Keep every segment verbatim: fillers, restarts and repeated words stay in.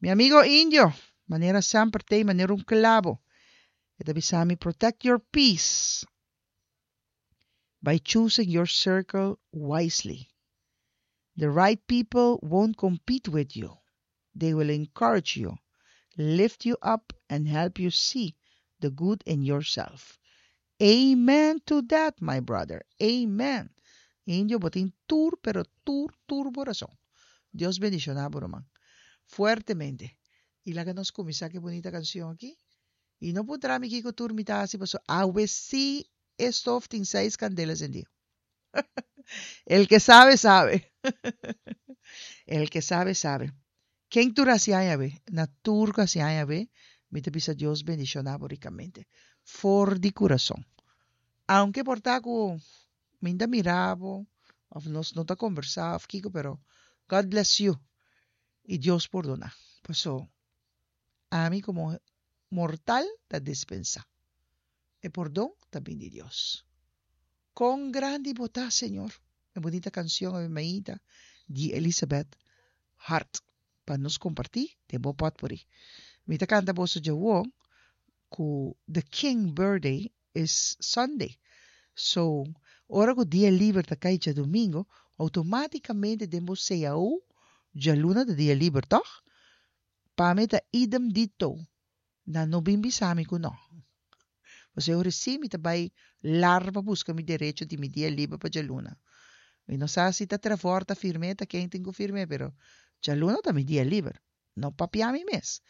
Mi amigo Indio, manera semper t'ei manera un clabo. E ta bisa mi, "Protect your peace by choosing your circle wisely. The right people won't compete with you. They will encourage you, lift you up, and help you see the good in yourself." Amen to that, my brother. Amen. Indio, bo tin tur, pero tur, tur rason. Dios bendishoná bo, ruman. Fuertemente. I laga nos kuminsá ku bunita kanshon aki. I no puntra mi kiko tur mi ta hasi, paso awe sí e stof tin seis kandela sendí. El que sabe, sabe. El que sabe, sabe. Ken tur hasi aña be? Na tur ku hasi aña be, mi ta bisa Dios bendishoná bo rikamente. For di kurason. Aunke por ta ku mi n' ta mira bo, òf nos no ta kombersá, òf kiko, pero God bless you. I Dios pordoná. Paso, ami komo mortal ta dispensá. E pordon tambe di Dios. Kon grandi bo ta, Señor. E bunita kanshon e di Elizabeth Hart. Pa nos kompartí, den bo potpourri. Mi ta kanta boso djawo ku The King Birthday is Sunday. So, ora ku dia liber ta kai djadumingu, outomátikamente den bo C A O, djaluna ta dia liber, toch? Pa mi ta idem dito. Nan no bin bisa mi ku no. Paso ora mi ta bai larba buska mi derecho di mi dia liber pa djaluna. Mi no sa si ta Trevor ta firm'é, ta ken tin ku firm'é, pero djaluna ta mi dia liber. No papia mi mes.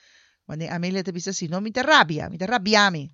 Wanneer Amelia ta bisa si no, mi ta rabia, mi ta rabia mi.